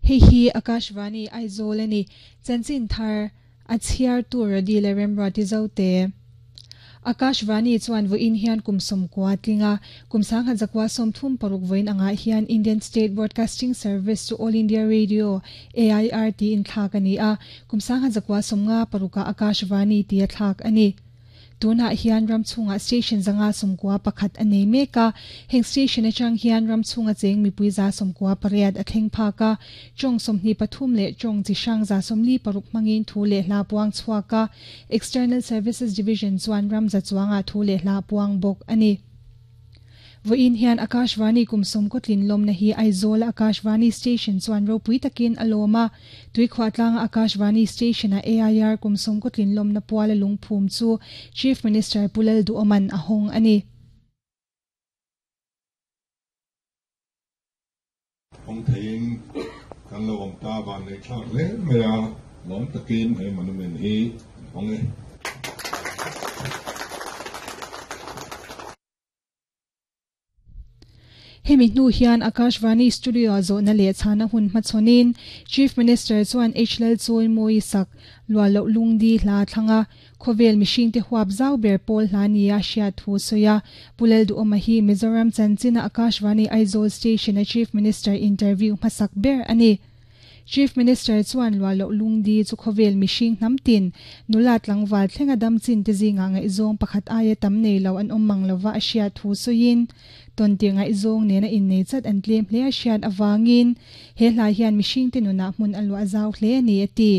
Hei hi Akashvani Aizawl a ni. Chanchin thar a chhiartu Radi leh Remruati Zote. Akashvani chuan vawiin hian kum 90 tling a, kum 1936 vawiin angah hian Indian State Broadcasting Service chu All India Radio, AIR, tiin thlak a ni a, kum 1956 ah Akashvani tia thlak a ni. Tunah hian ram chhungah station 591 a nei mek a, heng station atang hian ram chhunga cheng mipui 98 a thleng phak a, tawng 23 leh tawng chi hrang 46 hmangin thu leh hla puang chhuak a, External Services Division chuan ram za chuangah thu leh hla puang bawk a ni. Vawiin hian Akashvani kum 90 tlin lawmna hi Aizawl a Akashvani Station chuan ropui takin a lawm a, Tuikhuah tlanga Akashvani Station a AIR kum 90 tlin lawmna puala lungphum chu Chief Minister Pu Lalduhoma'n a hawng a ni. Hawng theiin kan lo awm ta van nei thlak hle mai a, lawm takin he monument hi an hawng e. Hemi hnu hian Akashvani Studio ah zawhna leh chhana hun hmachhawnin Chief Minister chuan H Lalchawimawi sak luah loh lungdi hla thlang a, khawvel mihringte huap zau ber pawl hla nia hriat thu sawi a. Pu Lalduhawma hi Mizoram chanchina Akashvani Aizawl Station a Chief Minister interview hmasak ber a ni. Chief Minister chuan luah loh lungdi chu khawvel mihring hnam tin, nula tlangval thlenga dam chin te zingah ngaihzawng pakhat aia tam nei lo an awm mang lova a hriat thu sawiin, tawntir ngaihzawng nena innei chat an tlem hle a hriat avangin he hla hian mihringte nunah hmun a luah zau hle a ni a ti.